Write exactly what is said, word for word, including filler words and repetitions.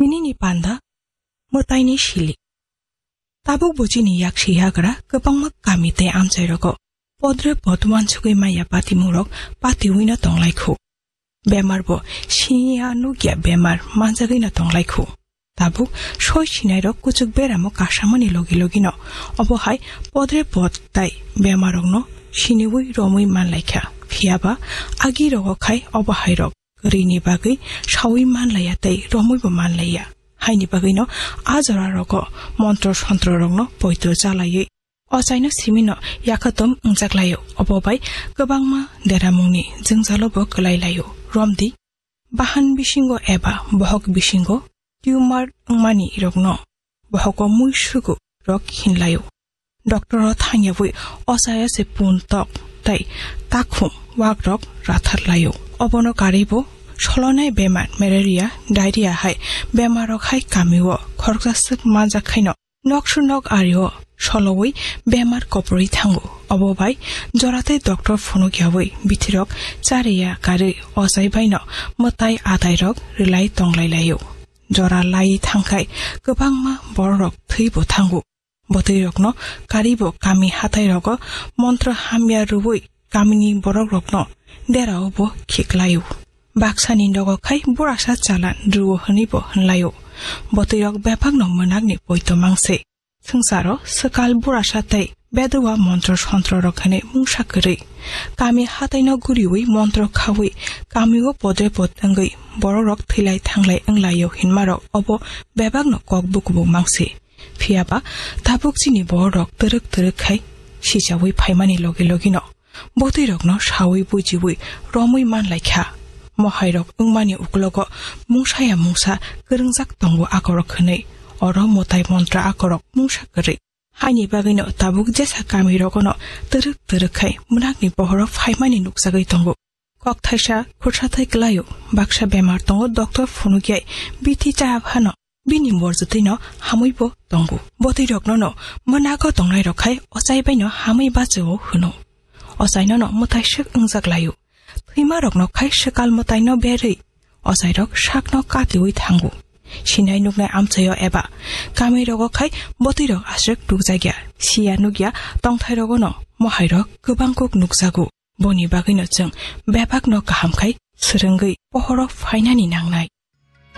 Tinini panda mwtaini sili. Tabuk bo chini yaksi yagra kwbangma kami tei amchairogo podre pod uansugwi maya patimungrok patiwino tonglaikhu. Bemar bo siya nukya bemar manjagwino tonglaikhu. Tabuk soi sinairok kuchuk beramo kasamani logi logino obo hai podre pod tai bemarrokno siniwi romwi manlaikha. Phiyaba agirogo khai obo hairok kwrwini bagwi sawi manlaiya tei romwibo manlaiya. Haini bagwino a jorarogo montro sontrorokno poito chalaiwi ochaino simino yakhatom wngjaklaio. Obo bai kwbangma deramungni jwngjalobo kwlailaio. Romdi bahan bisingo eba bohok bisingo tumor wngmani rokno bohoko muisugu rok hinlaio. Doctor o thangyawi ochaya se pun tok tei takhum wakrok ratharlaio. Obono karwibo solonai bemar malaria, diarrhea hai bemarrok hai kamio khoroksa swk manjak khaino noksu nok ario solowi bemar koprwi thango. Obo bai joratei doctor phunukyawi bithirok chariya karwi ochai baino mwtai atairok rwlai tonglailaio. Jora lai thangkhai kwbangma bororok thwibo thango. Bwtwirokno karibo kami hathairogo montro hamya rwui kamini borokrokno deraobo khiklaio. Baksani nogo khai burasa chalan rwo hwnwibo hwnlaio. Bwtwirok bebakno mwnakni poito mangse. Swngcharo swkal burasa tei bedua montro sontrorok hwnwi mungsa kwrwi. Kami hataino guriwi montro khawi kamio podre pod wngwi borokrok thwilai thanglai wnglaio hinmarok obo bebakno kok bukubu mangse. Phiyaba tabuk chini bororok twrwk twrwk khai sichawi phaimani logi logino bwtwirokno sawi bujiwi romwi manlaikha. Mohairok wngmani uklogo mungsaya mungsa kwrwngjak tongo akorok hwnwi. Oro mwtai montra akorok mungsa kwrwi. Haini bagwino tabuk jesa kamirogono twrwk twrwk khai mwnakni bohoro phaimani nukjagwi tongo. Kok thaisa khursa thai kwlaio, baksa bemar tongo, doctor phunukyai bithi chaya phano bini morjwtwino hamwibo tongo. Bwtwiroknono mwnago tongnairok khai ochai baino hamwi bachao hwno. Ochainono mwtaiswk wngjaklaio. Thwimarokno khai swkal mwtaino berwi ochairok sakno katiwi thango. Sinai nuknai amchaio eba kamirogo khai bwtwirok aswk tukjakya, siya nukya tongthairogono mohairok kwbang kuk nukjago. Boni bagwino chwng bebakno kaham khai swrwngwi pohoro phainani nangnai.